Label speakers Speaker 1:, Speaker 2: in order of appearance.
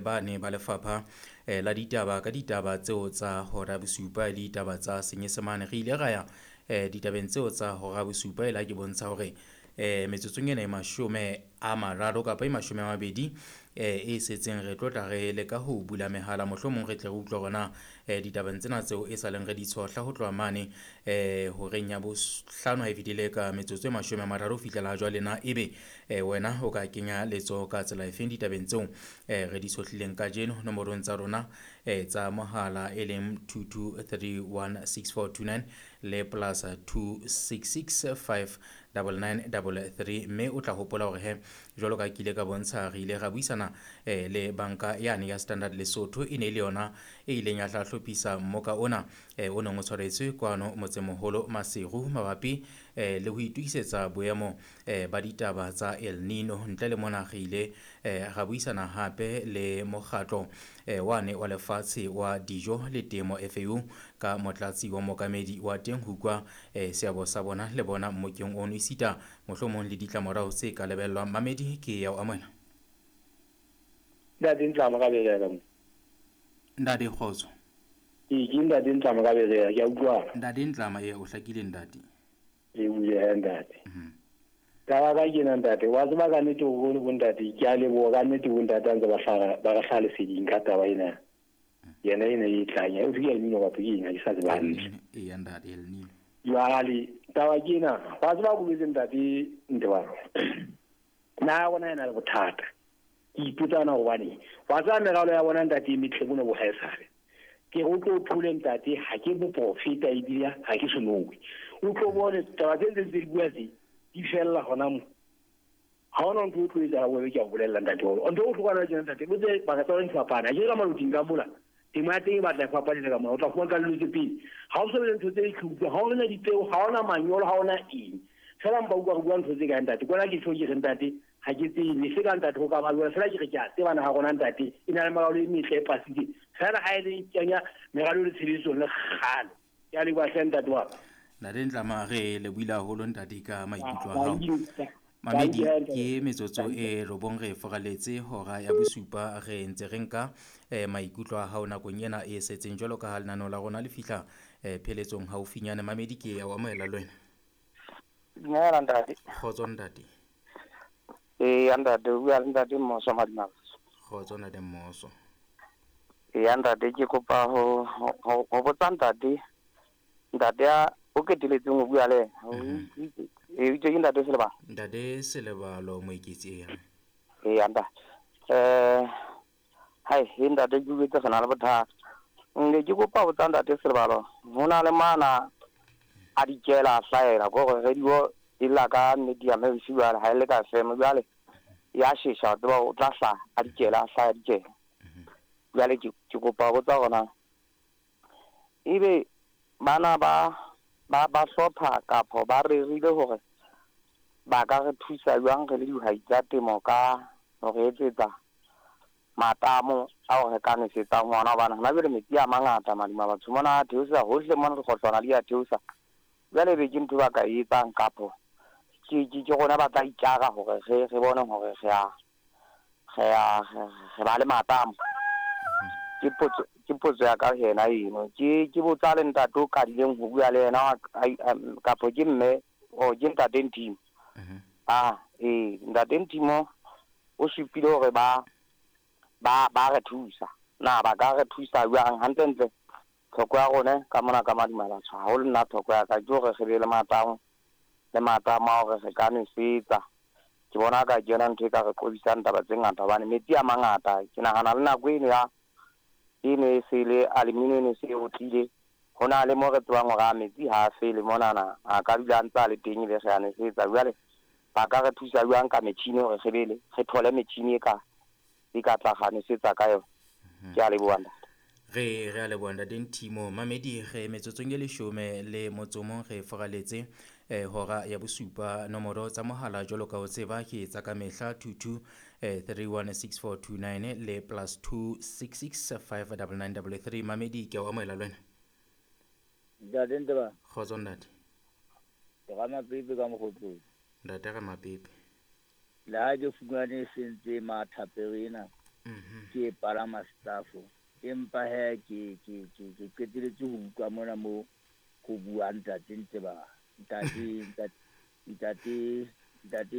Speaker 1: Bane ba lefapha la ditaba ka ditaba tseo tsa hora bosupa le ditaba tsa Senyesemane. Re ile ra ya ditabeng tseo tsa hora bosupa e la ke bontsha hore metsotsong ena e 30 kapa e 20 e setseng re tlo tla re leka ho bula mehala, mohlomong re tle re utlwe hore na ditabeng tsena tseo e sa leng re di tshohla ho tloha mane horeng ya bohlano ha e fetile ka metsotso e 30 ho fihlela jwale, na ebe wena o ka kenya letsoho ka tsela efeng ditabeng tseo re di tshohlileng kajeno nomorong tsa rona tsa mohala e leng 22316429 le plus 26659933. Mme o tla hopola hore he jwalo ka ke ile ka bontsha, re ile ra buisana le banka yane ya Standard Lesotho, e ne e le yona e ileng ya tla hlophisa mmoka ona o neng o tshwaretswe kwano motsemoholo Maseru mabapi le ho itokisetsa boemo ba ditaba tsa El Nino. Ntle le mona re ile ra buisana hape le mokgatlo wane wa lefatshe wa dijo le temo FAO ka motlatsi wa mookamedi wa teng ho utlwa seabo sa bona le bona mmokeng ono, esita mohlomong le ditlamorao tse ka lebellwang. Mamedi, ke ya o amohela.
Speaker 2: Ntate Ntlamo ka Berea mo.
Speaker 1: Ntate, kgotso.
Speaker 2: Ee, ke Ntate Ntlamo ka Berea, ke a utlwana.
Speaker 1: Ntate Ntlama, ee, o hlakile ntate.
Speaker 2: Re bule he ntate. Taba ka kena ntate, wa tseba ka nnete hore bo ntate, ke a leboha ka nnete bo ntate a ntse ba hlaha ba re hlaha leseding ka taba ena. Yena ena e tlang, e ke El Nino kapa ke eng, ha ke sa tseba hantle.
Speaker 1: Ee ntate, El Nino.
Speaker 2: Jwale taba ke ena, wa tseba bolwetse ntate Ntebalo. Na rona ena le bothata. Ke ipotsana hobane wa tseba meralo ya bona ntate e metle bona bo haesale. Ke re o tlo thole ntate, ha ke boprofeta ebile ha ke senowe. O tlo bone taba tse ntseng tse di bua tse di fella hona mo. Ha hona ntho e tlo etsahala bobe, ke a o bolella ntate wa. Ntho e bohlokwa na tjena ntate, botse baka tsa di fapana. Ha ke ka maloting ka mola. Temo ya teng e batla e fapane le ka mona. O tla fumana ka dilo tse pedi. Ha o so be le ntho tse tlhutlwa, ha o na dipeo, ha ona manyolo, ha ona eng. Fela mpa utlwa re bua ntho tse kae ntate. Kwana ke tjho ke re ntate, ha ke tsebe se ka ntate ho ka ba jwang. Fela ke re ke a tseba naha rona ntate e na le meralo e metle e pasitse. Fela ha e le kenya meralo le tshebetsong le kgale. Ke a leboha hle ntate wa ka.
Speaker 1: Ntate Ntlama, re lebohile haholo ntate ka maikutlo a hao. Mamedi, ke metsotso e 9 re foraletse hora ya bosupa, re ntse re nka maikutlo a hao nakong ena e setseng jwalo ka ha lenaneo la rona le fihla pheletsong haufinyane. Mamedi, ke ya o amohela le wena.
Speaker 3: Dumela ntate.
Speaker 1: Kgotso ntate.
Speaker 3: Ee ntate, o bua le ntate Mmoso Madimabatso.
Speaker 1: Kgotso ntate Mmoso.
Speaker 3: Ee ntate, ke kopa ho botsa ntate, ntate a o keteletseng ho bua le yena. Ee, itse ke ntate Selebalo.
Speaker 1: Ntate Selebalo Moeketsi, ee.
Speaker 3: Ee ntate. Hai, he ntate ke utlwetse re na le bothata. Nne ke kopa ho botsa ntate Selebalo, ho na le mana a dikela a hlahela ko hore radio e lla ka medium e bosiu jwale ha e le ka FM jwale ya shesha, wa tseba o tla hlaha a dikela a hlaha dikela. Jwale ke kopa ho botsa hore na ebe bana ba ba hlopha kapa ba rerile hore ba ka re thusa jwang re le dihwai tsa temo ka ho re etsetsa matamo ao re ka nwesetsang ho ona, hobane hona jwale metsi a mangata madima batho mona a theosa hohle mona dikgohlwana di a theosa. Jwale ebe ke ntho ba ka e etsang kapo ke rona ba tla itjara hore re bone hore re ba le matamo. Ke potso ya ka yena eno. Ke botsa le ntate o qadileng ho bua le yena kapo ke mme o ke ntate Ntimo. Ee ntate Ntimo o supile hore ba re thusa. Na ba ka re thusa jwang hantlentle? Tlhoko ya rona ka mona ka Madimabatho haholo nna tlhoko ya ka ke hore re be le matamo le matamo a hore re ka nwesetsa. Ke bona ka ke yona ntho e ka re qobisang taba tse ngata hobane metsi a mangata. Ke nahana le nako eno ya e ne e se le aluminium e se e otlile, ho na le mo re tsebang hore a metsi ha a fele monana, a ka dula a ntse a le teng ebe re a nwesetsa. Jwale ba ka re thusa jwang ka metjhini hore re be le re thole metjhini e ka tla ga nwesetsa ka yona? Ke a leboha ntate.
Speaker 1: Re a leboha ntate Ntimo. Mamedi, re metsotsong e 11 re foraletse hora ya bosupa. Nomoro tsa mohala jwalo ka o tseba ke tsa ka mehla 22316429 le plus 26659933. Mamedi, ke a o amohela le wena.
Speaker 4: Ntate Nteba.
Speaker 1: Kgotso ntate.
Speaker 4: Ke Ramapepe ka Mokgotlong.
Speaker 1: Ntate Ramapepe.
Speaker 4: Le ha ke fumane e sentse mathapere ena. Ke e palama staff. Empa he ke qeteletse ho utlwa mona mo ho bua ntate Nteba, ntate ntate ntate ntate.